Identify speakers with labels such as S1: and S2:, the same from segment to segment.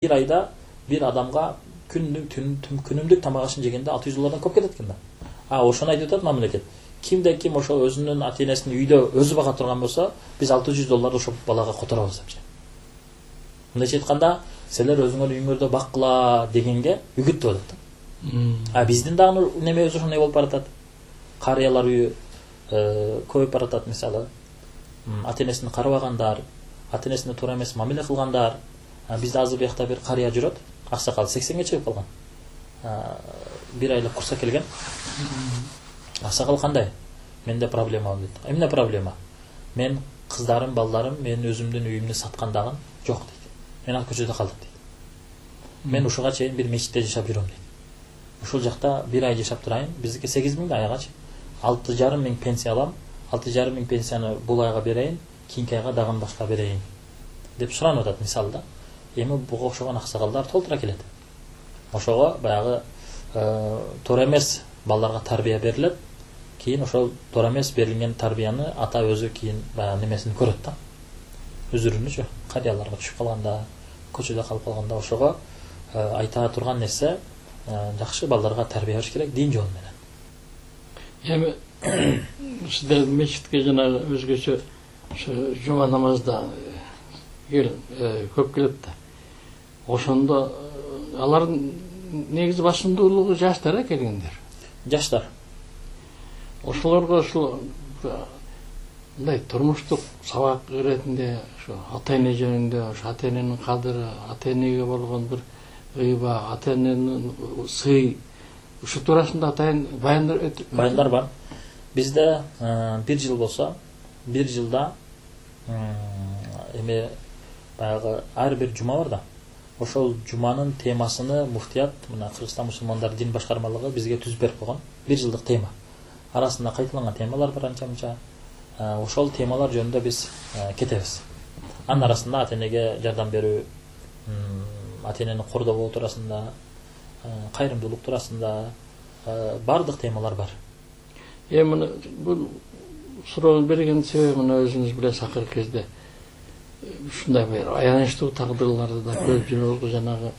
S1: бир айда бир адамга күнүмдүк тамак ашын жегенде $600 көп кетет экен да. Ошону айтып атат мамлекет. Кимде-ким ошо өзүнүн ата-энесин үйдө өзү бага турган болсо, биз $600 ошо балага которобуз депчи. Мындайча айтканда, силер өзүңөр үйүңөрдө баккыла дегенге үгүттүп атат да. Биздин дагы немебиз ошондой болуп баратат. Карыялар үйү көбөйүп баратат, мисалы. Ата-энесин карабагандар, ата-энесине туура эмес мамиле кылгандар. Бизде азыр биякта бир карыя жүрөт, аксакал 80ге чыгып калган. Бир айлык курска келген. Аксакал кандай? Менде проблема дейт. Эмне проблема? Мен кыздарым, балдарым мен өзүмдүн үйүмдү саткан дагы жок дейт. Мен ал көчөдө калдым дейт. Мен ушуга чейин бир мечитте жашап жүрөм дейт. Ушул жакта бир ай жашап турайын, биздики 8.000 айгачы. 6.500 пенсия алам. 6.500 пенсияны бул айга берейин, кийинки айга дагы башка берейин деп суранып атат мисалы да. Эми буга окшогон аксакалдар толтура келет. Ошого баягы туура эмес балдарга тарбия берилет. Кийин ошол туура эмес берилген тарбияны ата өзү кийин баягы немесин көрөт да. Үзүрүнүчү карыяларга түшүп калганда, көчөдө калып калганда ошого айта турган нерсе жакшы балдарга тарбия бериш керек дин жолу менен.
S2: Эми сиздер мечитке жана өзгөчө жума намазда көп келет да. Ошондо алардын негизи басымдуулугу жаштар келгендер.
S1: Жаштар.
S2: Ошолорго ушул мындай турмуштук сабак иретинде ошо ата-эне жөнүндө, ошо ата-эненин кадыры, ата-энеге болгон бир ыйба, ата-эненин сый, ушу туурасында атайын
S1: баяндар бар. Бизде бир жыл болсо, бир жылда эми баягы ар бир жума бар да. Ошол жуманын темасыны муфтият, мына Кыргызстан мусулмандар дин башкармалыгы бизге түзүп берип койгон. Бир жылдык тема. Арасында кайталанган темалар бар анча-мынча. Ошол темалар жөнүндө биз кетебиз. Анын арасында ата-энеге жардам берүү, ата-энени кордоо болуу туурасында, кайрымдуулук туурасында бардык темалар бар.
S2: Эми бул суроону берген себеби мына өзүңүз билесиз, акыркы кезде ушундай бир аянычтуу тагдырларды да көрүп жүрөбүз. Жанагы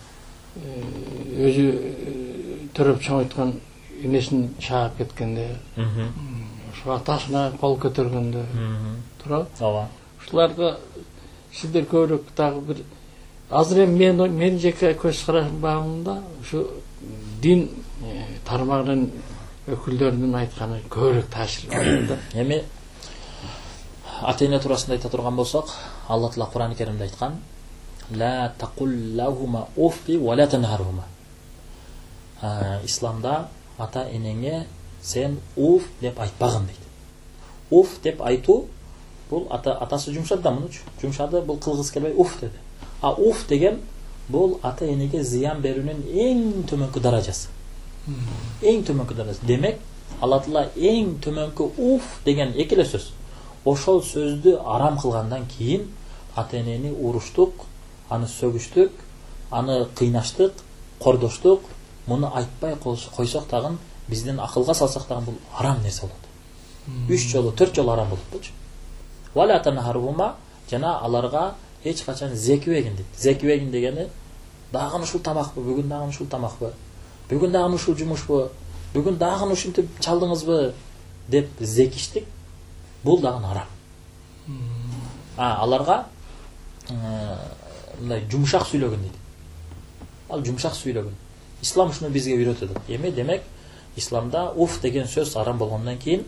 S2: өзү төрөп чоңойткон энесин чаап кеткенде, ошо атасына кол көтөргөндө турабы?
S1: Ооба.
S2: Ушуларга сиздер көбүрөөк дагы бир азыр эми мен жеке көз карашымда ушу дин тармагынын өкүлдөрүнүн айтканы көбүрөөк таасир берет да.
S1: Эми ата-эне туурасында айта турган болсок, Алла Таала Кур'ан-ы Керимде айткан: "Ла тaqul уффи ва ла танхархума". Исламда ата-энеңе сен уф деп айтпагын дейт. Уф деп айтуу бул атасы жумшады да мунучу. Жумшады, бул кылгыс келбей уф деди. Уф деген бул ата-энеге зыян берүүнүн эң төмөнкү даражасы. Эң төмөнкү даражасы. Демек, Алла Таала эң төмөнкү уф деген экеле сөз. Ошол сөздү арам кылгандан кийин ата-энени уруштук, аны сөгүштүк, аны кыйнаштык, кордоштук, муну айтпай койсок дагы биздин акылга салсак дагы бул арам нерсе болот. 3 жолу, 4 жолу арам болот болчу. Вала танхархума, жана аларга эч качан зекибегин дейт. Зекибегин дегени дагы ушул тамакпы, бүгүн дагы ушул тамакпы, бүгүн дагы ушул жумушпу, бүгүн дагы ушинтип чалдыңызбы деп зекиштик, бул дагы арам. Аларга мындай жумшак сүйлөгөн дейт. Ал жумшак сүйлөгөн. Ислам ушуну бизге үйрөтөт. Эми демек, исламда уф деген сөз арам болгондон кийин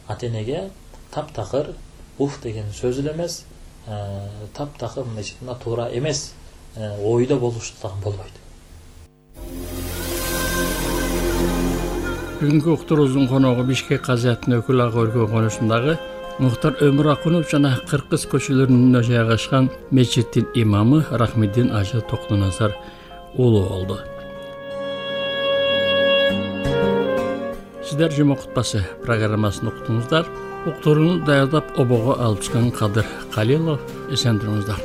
S1: ата-энеге таптакыр уф деген сөз эле эмес, таптакыр мындайча айтканда туура эмес ойдо болуш дагы болбойт.
S2: Бүгүнкү уктуруубуздун коногу Бишкек казыятынын өкүл ага өлкө конушундагы Мухтар Өмүракунов жана Кыркыз көчөлөрүндө жайгашкан мечиттин имамы Рахмиддин Ажы Токтоназар уулу болду. Сиздер жума кутбасы программасын уктуңуздар. Уктурууну даярдап обого алып чыккан Кадыр Калилов. Эсен туруңуздар.